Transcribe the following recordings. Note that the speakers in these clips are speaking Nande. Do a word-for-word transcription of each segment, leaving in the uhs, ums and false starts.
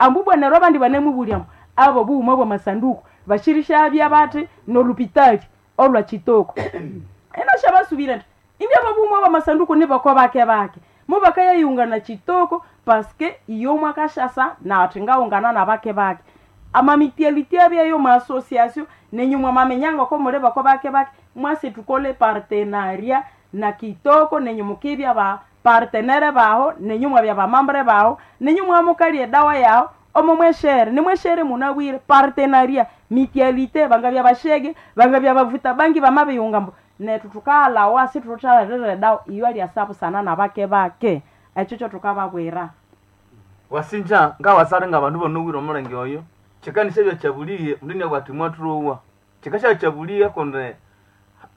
Ambu bwana neryo abandi banemubulyamu abo bughuma bw'amasanduku bashirishabya bati nolupitali olwa Chitoko. Ena shabasubira nti indi abo bughuma bw'amasanduku nibako bake bake mubakayayunga na Chitoko, paske iyo mwakashasa nathi ngaungana na bake bake amamitialiti abyayo maassociation, nenyu mwamamenyanga ko muli bako bake bake, mwasi tukole partenariat na Kitoko, nenyu mukibya ba partenaire baho, nenyu mwabya bamambre baho, nenyu mwamukalya edawa yaho omo mweshere nimweshere munabwire partenariat mitialite, bangabya bashege, bangabya bavuta bangi, bamabiyunga mbu netu tukalawa situthalerera edawa iyo alyasa busana na bake bake. Ekyo kyo tukababwira. Wasinja ngawasale nga bandu bonowire omulenge oyo kikanisha byakyabuliye mundu niabwati mwathurowa kikasha-kyabuliye kundi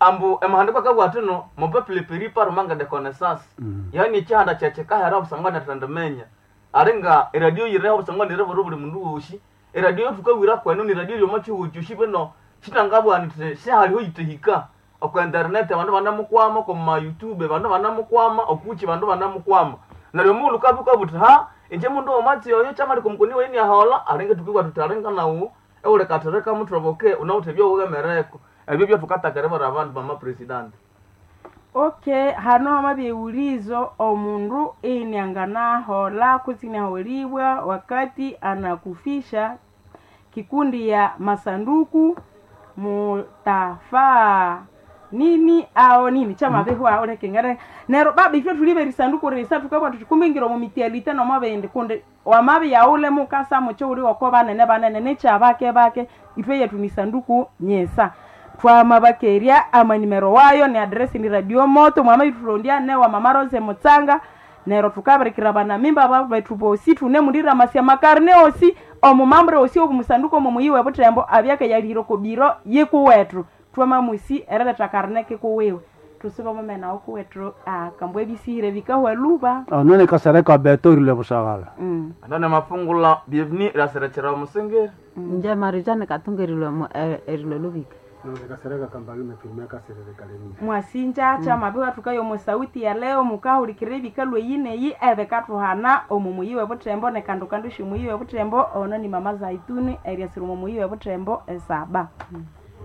ambu emahandiko akabwati no mon peuple périt par manque de connaissance. Yani ekihanda kyekikahera obusangwa nethendimenya alinga eradio yireho obusangwa niribura buli mundu wosi. Eradio thukawira kwenu ni radio yomo kihugho kyosi bino kitangabwa nti sihaliho yitihika oku internet, abandu banamukwama oku ma YouTube, abandu banamukwama okuki, bandu banamukwama. Neryo omughulhu ukabya uthi ha inje mundu womatsi oyo kyamaleka omukoni wayi iniaholha, alinga thukibugha thuthi alinga nawu ewulikathirika muthoboke unawithe ebyowughemereko. Ebyo byathukathaka eribwira abandu bama president. Okay, hano hamabya iulizo omundu inianganahola kutsi iniaholibwa wakati anakufisha kikundi ya masanduku, mutafaa nini ao nini chamabihwa ulekengere nero baba ifwe tulibe risanduku risa tukabwa tukumbingira omu mitialite nomabindi kundi wamabi yaule mukasa mucho uli wako banene banene nechabake bake ifwe yetu ni sanduku nyesa. Twamabakerya amanimero wayo ni adresi ni Radio Moto mwama itulondia ne wa Mama Rose Mutsanga. Nero tukabirikira bana mimba betu bosi tune mulira masia makarne osi omumambre osi obumusanduko mumuyiwe butembo abyake yaliro kobiro yikuwetu twamamusi erereta karne kikuwiwe tusiba mumena okuwethu akambwa ebisire bikahwa luba. Onene kasereka beto rile busagala. Mm. Anone mafungula bienvenue iraserekera omusengeri. Nje marijani katungerilwe erilwe lubika. Kasereka kambalume firme kaserere kalemi. Mwasinja chamabiwa tukayo musauti ya leo mukahulikira ebikalwe yineyi ebekathuhana omu muyiwe butembo ne kandu kandu shimuyiwe butembo ono ni Mama Zaituni eryasira omu muyiwe butembo esaba.